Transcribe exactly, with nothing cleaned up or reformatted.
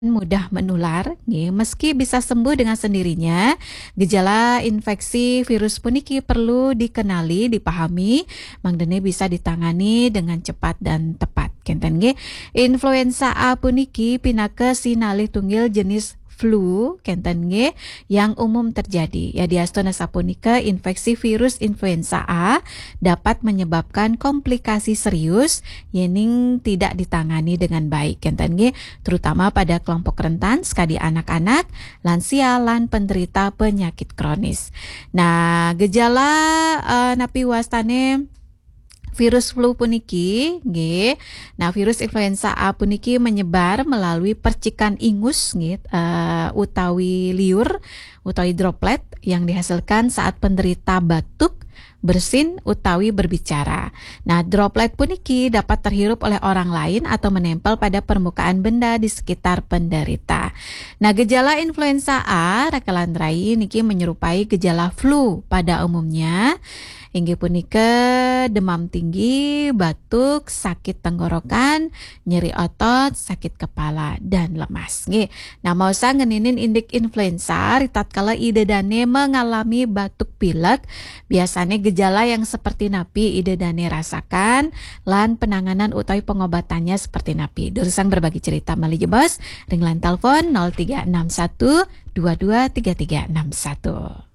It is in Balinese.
mudah menular, nggih. Meski bisa sembuh dengan sendirinya, gejala infeksi virus puniki perlu dikenali, dipahami, mangdene bisa ditangani dengan cepat dan tepat. Kenten nggih, influenza A puniki pinaka sinalih tunggil jenis flu, kenten nggih, yang umum terjadi. Ya, diastun sapunika, infeksi virus influenza A dapat menyebabkan komplikasi serius yening tidak ditangani dengan baik, kenten nggih, terutama pada kelompok rentan, sekadi anak-anak, lansia, lan penderita penyakit kronis. Nah, gejala, eh, napi wastane virus flu puniki, nggih. Nah, virus influenza A puniki menyebar melalui percikan ingus, nggih, eh, utawi liur, utawi droplet yang dihasilkan saat penderita batuk, bersin, utawi berbicara. Nah, droplet puniki dapat terhirup oleh orang lain atau menempel pada permukaan benda di sekitar penderita. Nah, gejala influenza A, rakelan rai, niki menyerupai gejala flu pada umumnya. Inggih punika demam tinggi, batuk, sakit tenggorokan, nyeri otot, sakit kepala, dan lemas. Nggih. Nah, maosang ngeninin indik influenza, ritatkala ida dane mengalami batuk pilek, biasanya gejala yang seperti napi ida dane rasakan, lan penanganan utawi pengobatannya seperti napi. Durusang berbagi cerita malih jebos, ring line telepon nol tiga enam satu dua dua tiga tiga enam satu.